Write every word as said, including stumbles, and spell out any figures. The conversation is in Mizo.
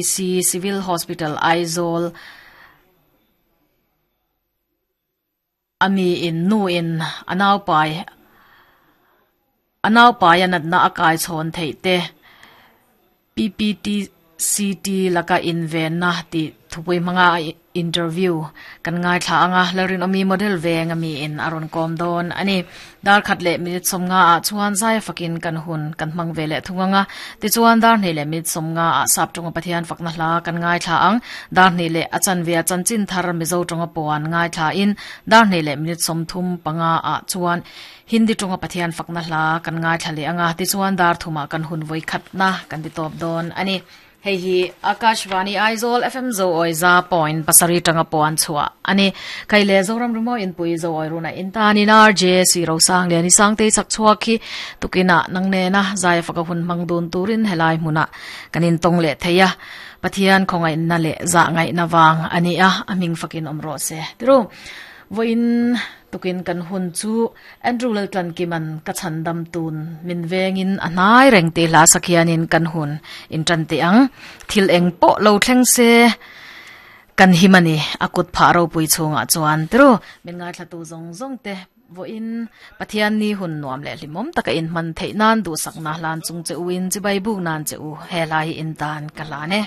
C Civil Hospital Aizawl ami in nu in anau pai anau pai anat na akai chhon thei te P P T C T laka in ven na ti thupui manga interview kan ngai thla anga larin ami model veng ami in aron kom don ani dar khat le minute somnga a chuan zai fakin kan hun kan mang vele thunganga ti chuan dar hne le minute somnga a sap tonga pathian fakna hla kan ngai thla ang dar hne le achan ve chan chin thar mizo tonga poan ngai thla in dar hne le minute som thum panga a chuan Hindi tonga pathian fakna hla kan ngai thla le anga ti chuan dar thuma kan hun voi khat na kan ti top don ani hei hi Akashvani Aizawl F M zo oi za point pasari tanga pon chua ani kaile zoram rumo in pui zo oi runa in ta ni nar J C ro sang le ni sang te chak chua khi tukina nangne na zai faka hun mangdun turin helai hmuna kanin tong le theya pathian khongai na le za ngai na wang ani a aming fakin omro se tru voin tukin kan hun chu Andrew Laltlan kiman ka chandam tun min vengin anai reng te la sakhianin kan hun in tran te ang thil eng po lo thleng se kan himani akut pharo pui chunga chuan tru min ngai thla tu zong zong te voin pathian ni hun nuam le limom taka in man thei nan du sakna hlan chung che uin chi bai bu nan che u he lai in tan kalane.